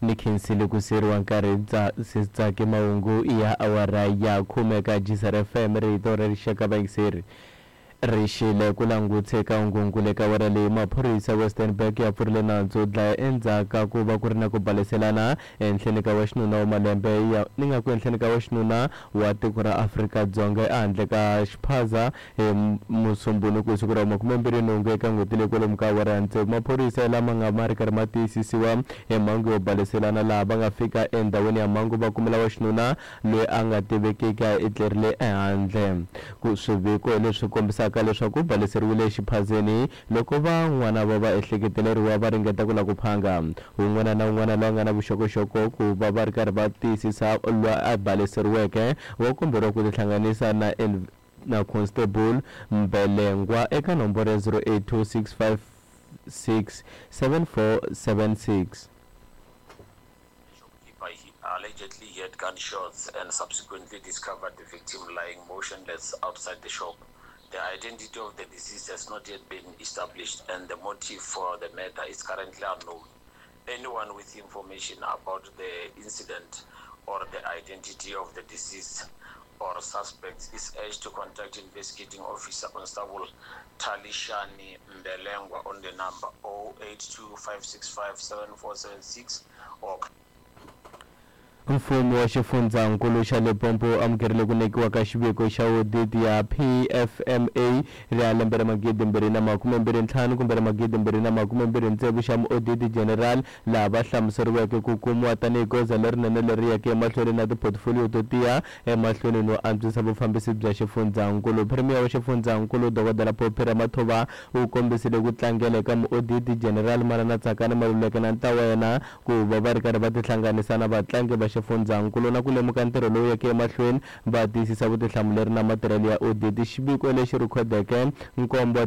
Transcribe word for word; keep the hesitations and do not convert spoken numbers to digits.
Ni khensile ku siyeriwa nkarhi Tsaki mahungu ya awara ya khume ka G S R F M rito ra rixaka vayingiseri ri xile ku langutse ka hungunkulu eka awara leyi maphorisa Westernburg ya pfurile nandzu dlaya endzhaku ka ku va ku ri na ku baleselana ehenhleni ka wa xinuna wa malembe ya ni nga ku ehenhleni ka wa xinuna wa tiko ra Afrika-Dzonga ehandle ka xiphaza hi Musumbhunuku siku ra makumembirhi nhungu eka n'hweti leyi kwalomu ka awara ya tsevu. Maphorisa lama nga ma ri karhi ma tiyisisiwa hi mhangu yo baleselana laha va nga fika endhawini ya mhangu va kumela wa xinuna loyi a nga tivekiki a etlerile ehandle. Ku swiviko leswi kombisaka leswaku baleseriwile exiphazeni loko van'wana va va ehleketeleriwa va ringeta ku lava ku phanga. Un'wana na un'wana loyi a nga na vuxokoxoko ku va va ri karhi va tiyisisa loyi a baleseriweke wa komberiwa ku tihlanganisa na na Constable Mbelengwa eka nomboro ya zero eight two six five six seven four seven six. Allegedly heard gunshots and subsequently discovered the victim lying motionless outside the shop. The identity of the deceased has not yet been established and the motive for the murder is currently unknown. Anyone with information about the incident or the identity of the deceased or suspects is urged to contact investigating officer Constable Talishani Mbelengwa on the number zero eight two five six five seven four seven six or Mfumo wa xifundzankulu xa Limpopo wu amukerile ku nyikiwa ka xiviko xa audit ya P F M A ra lembe ra magidi mbirhi na makume mbirhi ntlhanu kumbe ra magidi mbirhi na makume mbirhi tsevu xa Muoditi General laha va hlamuseriweke ku kumiwa tanihi goza lerinene leri yeke emahlweni na tiphotofolio to tiya emahlweni no antswisa vufambisi bya xifundzankulu. Premier wa xifundzankulu Dokodela Phophi Ramathuba u kombisile ku tlangela eka Muoditi General Manana Tsakani Maluleke na ntlawa wa yena ku va va ri karhi va tihlanganisa na vatlangi va xifundzankulu na ku lemuka ntirho lowu yeke emahlweni va tiyisisa vutihlamuleri na matirhelo ya audit. Xiviko lexi rhekhodeke nkombo wa